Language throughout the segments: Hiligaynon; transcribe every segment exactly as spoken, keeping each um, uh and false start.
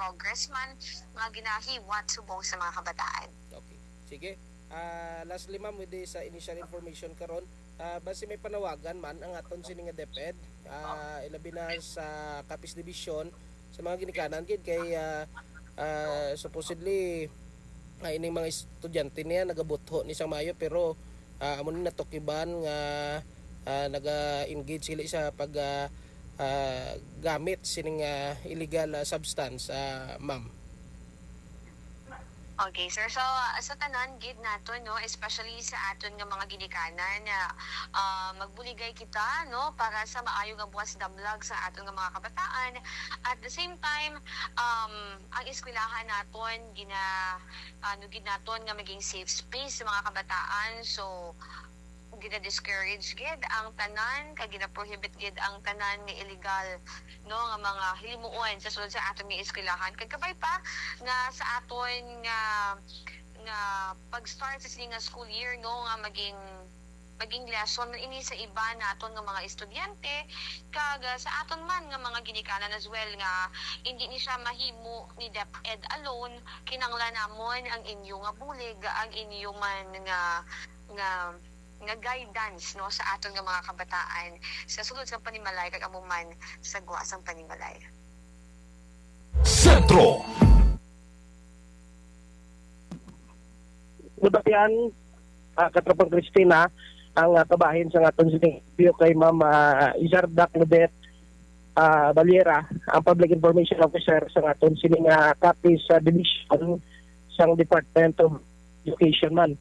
progress man nga ginahiwat subong sa mga kabataan. Okay. Sige. Ah, lastly, ma'am, with this, ah, initial information karon, ah, basi may panawagan man ang aton sini nga DepEd, ah, ilabi na sa Capiz Division, sa mga ginikanan gid kay, ah, ah, supposedly, ah, ining mga estudyante niya nagabutho ni sang maayo, pero, ah, amo ni natukiban nga, ah, naga-engage sila sa pag, ah, ah, gamit sining, ah, illegal, ah, substance, ah, ma'am. Okay, sir. So, ah, sa tanan gid naton, no, especially sa aton nga mga ginikanan, ah, ah, magbuligay kita, no, para sa maayo nga buwas damlag sa aton nga mga kabataan. At the same time, um, ang eskwelahan naton gina ano gid naton nga maging safe space sa mga kabataan. So, gina-discourage gid ang tanan, kag gina-prohibit gid ang tanan nga illegal, no, nga mga hilimuon sa sulod sa aton nga eskwelahan. Kag kabay pa nga sa aton nga nga pag-start sa sini nga school year, no, nga maging maging lesson man ini sa iba naton nga mga estudyante, kag, ah, sa aton man nga mga ginikanan as well, nga hindi ni siya mahimo ni DepEd alone. Kinahanglan namon ang inyo nga bulig, ang inyo man nga nga nga guidance, no, sa aton nga mga kabataan sa sulod sang panimalay kag amo man sa gwa sang panimalay. Sentro. Nabatian, ah, Katropang Christina, ang, ah, kabahin sa aton sini kay Ma'am, ah, Izarda Claudette, ah, Valera, ang Public Information Officer sa aton sini nga Capiz, ah, Division sang Department of Education man,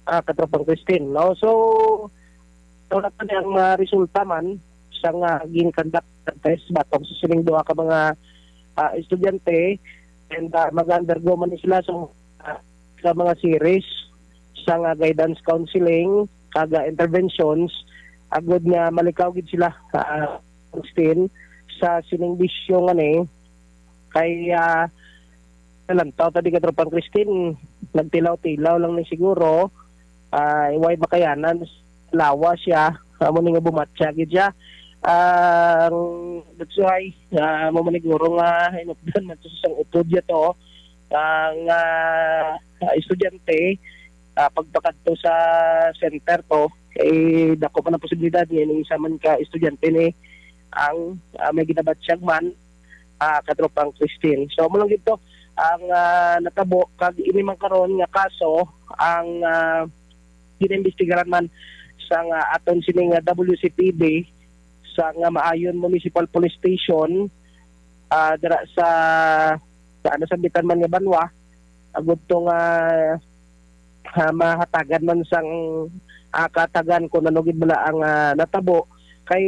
ah, Katropang Christine, no? So, wala pa ni ang, ah, resulta man sa nga gin-conduct nga test batok sa sining duha ka mga, ah, estudyante, and, ah, mag-undergo man ni sila sa, ah, sa mga series sa nga guidance counseling kag, ah, interventions, agud nga malikaw gid sila, ah, Christine, sa sining bisyo nga ni kay, ah, nalantaw ta di, Katropang Christine, nagtilaw-tilaw lang ni siguro, ah, way makayanan, lawas siya, amo ni nga bumatya gid siya. Ang that's why, ah, amo man siguro nga hinupdan man to sa sang upod niya to, ang, ah, estudyante, ah, pagpakadto sa center to, eh, dako man ang posibilidad nga ining isa man ka estudyante ni ang, ah, may ginabatyag man, ah, Katropang Christine. So, amo lang gid to ang, ah, natabo, kag ini man karon nga kaso ang, ah, ginaimbestigaran man sa nga aton sini nga W C P D sa nga Maayon Municipal Police Station, ah, dira sa, sa nasambitan man nga banwa, agud to nga, ah, mahatagan man sang, ah, katagan kung ano gid bala ang, ah, natabo. Kay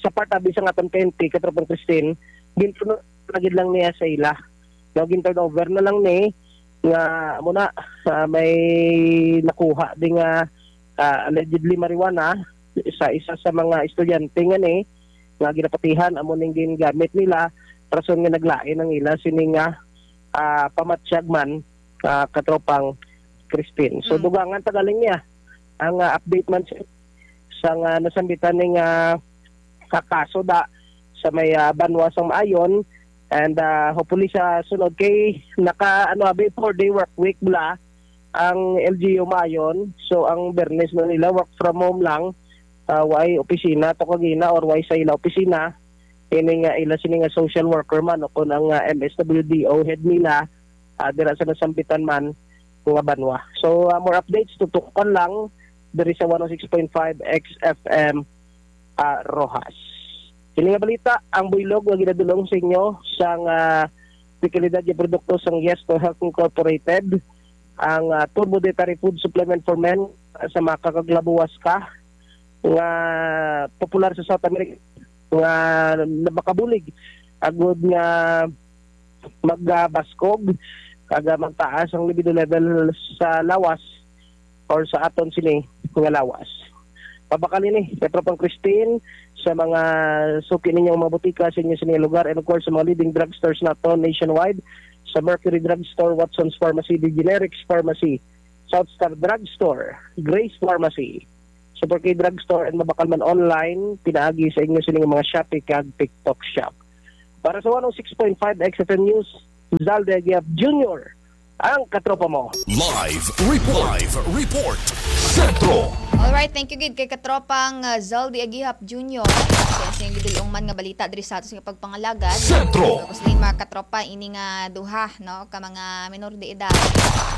sa part abi sang aton P N P, Katropang Christine, gintuno na gid lang niya sa ila. No, gin-turn over na lang ni nga amo na, ah, may nakuha di nga, ah, allegedly marijuana sa isa sa mga estudyante nga ni nga ginapatihan, amo ning gingamit nila, rason nga naglain ang ila sini nga, ah, pamatyag man, ah, Katropang Christine. So, Mm. dugangan pa galing niya ang, ah, update man sa, sa nga nasambitan ni nga, ah, kaso da sa may, ah, banwa sang Maayon, and, ah, hopefully sa sunod kay naka, ano, abi, four-day work week bala ang L G U Maayon. So, ang Bernes na nila, work from home lang, ah, way opisina to kagina or way sa ila opisina. Ini nga ila sini nga social worker man o kung ang, ah, M S W D O head nila, ah, dira sa nasambitan man nga banwa. So, ah, more updates, tutukan lang diri sa one oh six point five X F M, ah, Roxas. Kini nga balita ang buylog nga ginadulong sa inyo sang, ah, dekalidad nga produkto sang Yes to Health Incorporated, ang, ah, Turbo Dietary Food Supplement for Men, ah, sa mga kakaglabuwas ka nga popular sa South America nga makabulig agud nga magbaskog kag magtaas ang libido level sa lawas or sa aton sini nga lawas. Pabakal ini, Katropang Christine, sa mga suki ninyong mga butika sa inyo sini nga lugar, and of course sa mga leading drugstores naton nationwide, sa Mercury Drugstore, Watson's Pharmacy, The Generics Pharmacy, South Star Drugstore, Grace Pharmacy, Super K Drugstore, and mabakal man online pinaagi sa inyo sini nga mga Shopee kag TikTok Shop. Para sa one oh six point five X F M News, Zalde Aguiap Junior, ang katropa mo. Live report. Live report. Sentro. Alright, thank you gid kay katropang uh, Zaldi Agihap Junior. Sa iyang gidulong man nga balita diri sa ato sa pagpangalagad. Sentro. Tapos din mga katropa, ini nga duha, no, ka mga minor de edad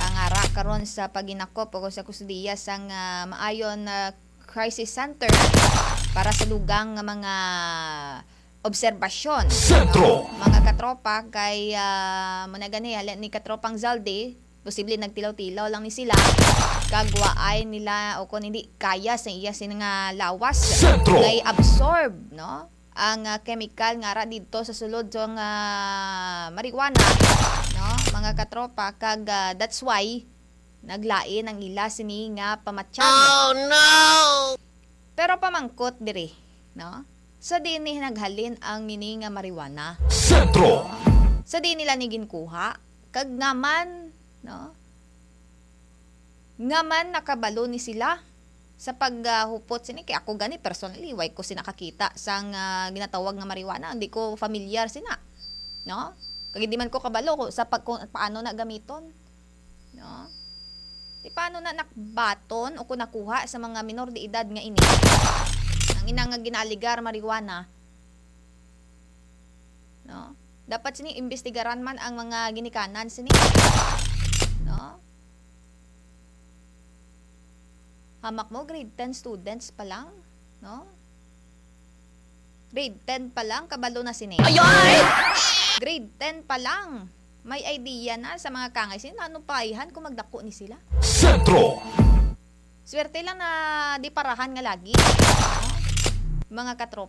ang ara karon sa paginakop o sa kustudiya sang uh, Maayon uh, Crisis Center para sa dugang nga mga obserbasyon. Sentro. No? Mga katropa, kay uh, muna gani, halin ni katropang Zaldi, posible nagtilaw-tilaw lang ni sila kag waay nila o kung hindi kaya sa iya sini nga lawas Sentro. Kay absorb, no, ang uh, chemical nga ara didto sa sulod sang uh, marijuana, no, mga katropa, kag uh, that's why naglain ang ila sini nga pamatyan. Oh no! Pero pamangkot diri, no, sa diin ni naghalin ang ini nga marijuana? Sentro. Sa diin nila ni ginkuha? Kag ngaman, no? Ngaman nakabalo ni sila sa paghupot sini kay ako gani personally way ko sina kakita sang uh, ginatawag nga marijuana, hindi ko familiar sina, no? Kag hindi man ko kabalo sa pag kung paano na gamiton, no? Di paano na nakbaton o kung nakuha sa mga minor de edad nga ini ang inang nga ginaaligar marijuana, no? Dapat sini imbestigaran man ang mga ginikanan sini, no? Hamak mo, grade ten students pa lang, no? Grade ten pa lang, kabalo na sini. Grade ten pa lang, may idea na sa mga kangay sini. Ano pa ayhan kung magdako ni sila? Sentro. Swerte lang na di parahan nga lagi, no? Mga katropa.